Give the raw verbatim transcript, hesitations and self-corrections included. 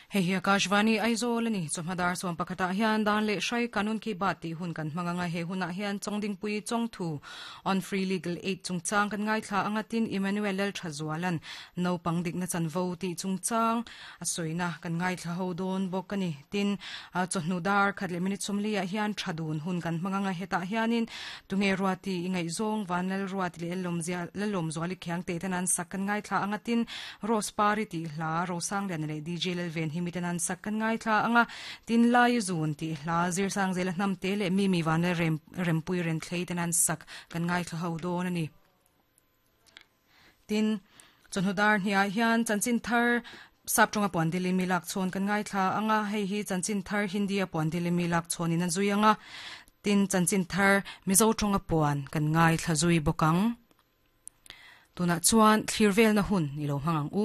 Hei hi Akashvani Aizawl ani chawhma sawm pakhatah hian dan leh hrai kanun ki bat tih hun kan hmang anga he hunah hian Chawngdingpui Chawngthu on free legal aid chungchang kan ngaithla anga tin Emmanuel Lal Thazualan naupang dikna chanvo tih chungchang a sawina kan ngaithla ho dawn bawk ani tin chawhnu dar khat leh minute sawmli ah hian thadun hun kan hmang anga hetah hianin tunge ruati ingaihzawng vanlal ruati leh lawmzia lalawm zuali khiang te ten an sak kan ngaithla anga tin Rose Pari tih hla Rosang lian leh D J Lalven hi miten an sak kan ngaithla anga tin lai zun ti hla zir sang zela hnam te leh mi mi van rem rempui ren thlei ten an sak kan ngaithla ho dawn ani tin chawhnu dar hniah hian chanchin thar sap tonga puan dili mi lak chhawn kan ngaithla anga hei hi chanchin thar Hindi a puan dili mi lak chhawn in an zui anga tin chanchin thar Mizo tonga puan kan ngaithla zui bawkang tuna chuan thlir vel na hun ni lo hmangang u.